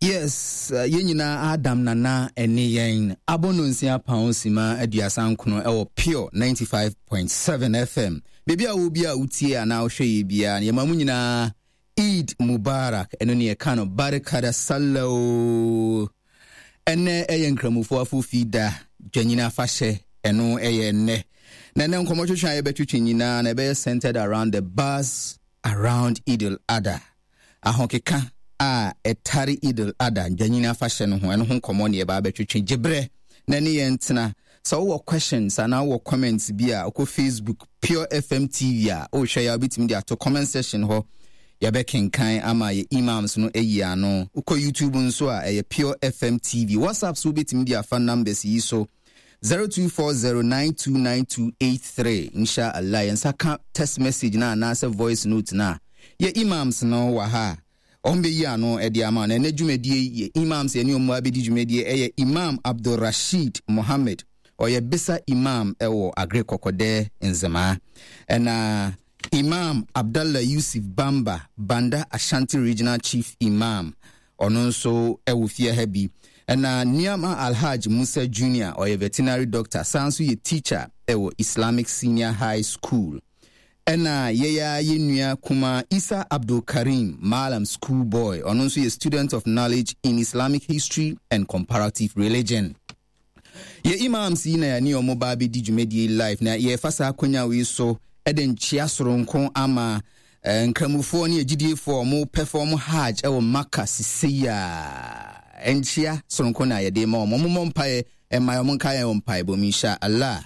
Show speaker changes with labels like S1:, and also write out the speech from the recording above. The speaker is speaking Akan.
S1: Yes, yɛn nyinaa Adam Nana ɛne yɛn abɔ no nsia pound sima 39 ɛwɔ Pure 95.7 FM. Baabi a wo bi a wotie anaa wohwɛ yɛ biara, yɛma mu nyinaa Eid Mubarak, ɛno ne yɛka no Barikada Sallah o. Ɛnnɛ ɛyɛ Nkramofoɔ afofi da, Dwanyini afahyɛ, ɛno ɛyɛ ɛnnɛ. Na ɛnnɛ nkɔmmɔtwetwe a yɛbɛtwetwe nyinaa na ɛbɛyɛ centered around the buzz around Eid al-Adha. Ahokeka a ɛtare Eid al-Adha, Dwanyini afahyɛ no ho, ɛno ho nkɔmmɔ ne yɛba abɛtwetwe. Gye berɛ na ne yɛn tena. Sɛ wowɔ questions anaa wowɔ comments bi a, wokɔ Facebook Pure FM TV a, wohwɛ yɛ a wobɛtumi de ato comment section hɔ. Yɛbɛkenkan ama yɛ imams no ayi ano. Wokɔ YouTube nso a, ɛyɛ Pure FM TV. WhatsApp so wobɛtumi de afa numbers yi so 0240929283. Insha Allah, yɛn nsa ka text message no anaasɛ voice note no a, yɛ imams no wɔ ha a, wɔn bɛyi ano de ama. Na ɛnɛ dwumadie yɛ imams yɛne wɔn abɛdi dwumadie ɛyɛ Imam Abdul Rashid Mohammed. Ɔyɛ Bisa Imam ɛwɔ Agre Kɔkɔdɛ Nzemaa. Ɛna Imam Abdallah Yusuf Bamba, Banda Ashanti Regional Chief Imam, ɔno nso ɛwɔ fie ha bi. Ɛna Niama Alhaj Musa Junior, ɔyɛ veterinary doctor, san nso yɛ teacher ɛwɔ Islamic Senior High School. Ɛna yɛyɛ yɛ nua kuma Isa Abdul Karim, Malam School Boy, ɔno nso yɛ student of knowledge in Islamic history and comparative religion. Yɛ imams yi na yɛne wɔn ba abɛdi dwumadie live, na yɛfa saa akwanya wei so de nkyea soronko ama eh, nkramofoɔ ne agyidiefoɔ a wɔn perform hajj wɔ Maka sisei a nkyea soronko na yɛde ma wɔn. Wɔn mmɔ mpaeɛ mma wɔn nka yɛn wɔ mpaebɔ mu insha Allah.